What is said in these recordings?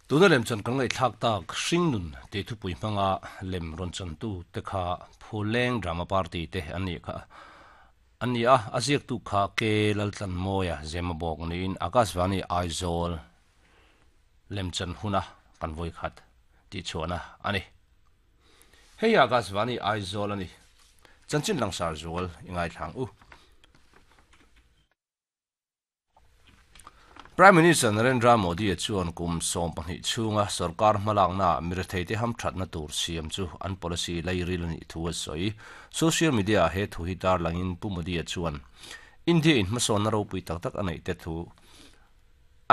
Tuna lemchan kan ngaihthlak tak Hringnun tih thupui hmanga lem rawn chantu te kha Phuleng Drama Party te an nih kha an ni a, a ziaktu kha Ke Laltlanmawia Zemabawk niin Akashvani Aizawl lemchan huna kan vawikhat tihchhuahna a ni. Hei Akashvani Aizawl a ni. Chanchin langsar zual i ngaithlang u. Prime Minister Narendra Modi-a chuan kum 12 chhunga sorkar hmalaknaah miretheite hamthatna tur siam chu an policy lairil a nih thu a sawi. Social media-ah he thu hi tarlangin Pu Modi-a chuan India-in hmasawnna ropui tak tak a neih te thu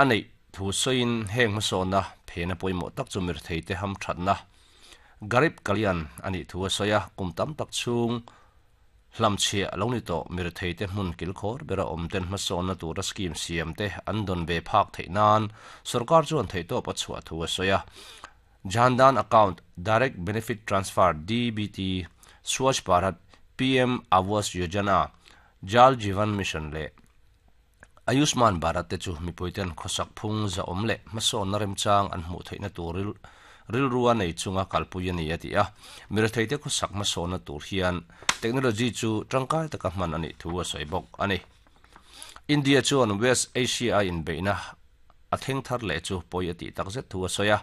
a neih thu sawiin heng hmasawnna phena pawimawh tak chu miretheite hamthatna Garib Kalyan a nih thu a sawi a, kum tam tak chhung Hlamchhiah lo ni tawh miretheite hmun kilkhawr bera awm ten hmasawnna tura scheme siam te an dawn ve phak theih nan sorkar chuan theihtawp a chhuah thu a sawi a. Jan Dhan Account, Direct Benefit Transfer, DBT, Swachh Bharat, PM Awas Yojana, Jal Jeevan Mission leh Ayushman Bharat te chu mipuiten khawsak phung zahawm leh hmasawnna remchang an hmuh theihna tur rilrua nei chunga kalpui a ni a ti a. Miretheite khawsak hmasawnna tur hian technology chu tangkai taka hman a nih thu a sawi bawk a ni. India chuan West Asia a inbeihna a thleng thar leh chu pawi a tih takzet thu a sawi a.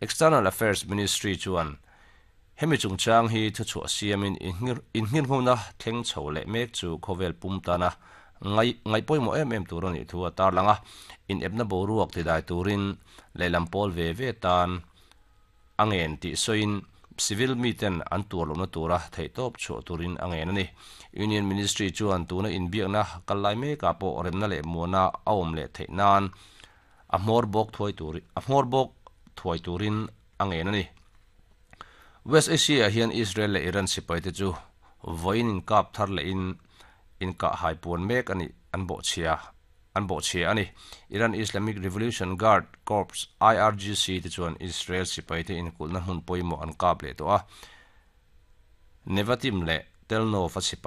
External Affairs Ministry chuan hemi chungchang hi thuchhuah siamin inngirhmuna thleng chho leh mek chu khawvel pum tana ngai ngaihpawimawh em em tur a nih thu a tarlang a, inepna boruak tidai turin lehlam pawl ve ve tan a ngen tih sawiin civil miten an tuar lohna tura theihtawp chhuah turin a ngen a ni. Union Ministry chuan tuna inbiakna kal lai mekah pawh remna leh muana a awm leh theih nan a hmawr bawk thuai tur a hmawr bawk thuai turin a ngen a ni. West Asia-ah hian Israel leh Iran sipaite chu vawiin inkap thar lehin inkah hai puan mek a nih an bawhchhia an bawhchhia a ni. Iran Islamic Revolution Guard Corps, IRGC, te chuan Israel sipaite inkulhna hmun pawimawh an kap leh tawh a, Nevatim leh Tel Nov a sipai.